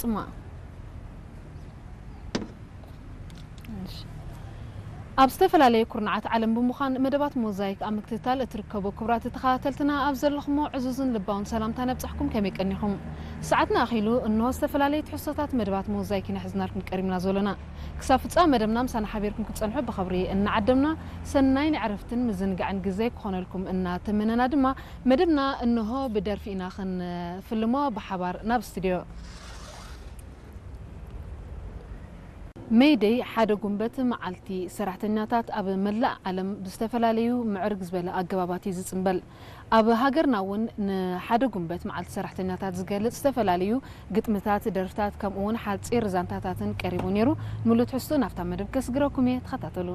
እማ። እሺ። ኣብ ዝተፈላለየ ኩርናዓት ዓለም ብምዃን መደባት ሞዛይክ ኣብ ምክትታል እትርከቡ ክቡራት ተኸታተልትና፣ ኣብ ዘለኹሞ ዕዙዝን ልባውን ሰላምታ ነብጻሕኩም። ከመይ ቀኒኹም? ሰዓትና ኣኺሉ፣ እንሆ ዝተፈላለየ ትሕዝቶታት መደባት ሞዛይክ ኢና ሒዝናልኩም ቀሪብና ዘሎና። ክሳብ ፍጻመ መደብና ምሳና ሓቢርኩም ክትጸንሑ ብኽብሪ እናዓደምና፣ ሰናይ ናይ ዕረፍትን ምዝንጋዕን ግዜ ክኾነልኩም እናተመነና ድማ፣ መደብና እንሆ ብደርፊ ኢና ክንፍልሞ ብሓባር ናብ ስቱድዮ። ሜይደይ ሓደ ጉንበት መዓልቲ ሰራሕተኛታት ኣብ መላእ ዓለም ብዝተፈላለዩ ምዕርግ ዝበለ ኣገባባት እዩ ዝጽንበል። ኣብ ሃገርና እውን ንሓደ ጉንበት መዓልቲ ሰራሕተኛታት ዝገልጽ ዝተፈላለዩ ግጥምታት፣ ደርፍታት፣ ከምኡ እውን ሓጺር ዛንታታትን ቀሪቡ ነይሩ። ሙሉእ ትሕዝቶ ናብታ መደብ ከስግረኩም እየ፣ ተኸታተሉ።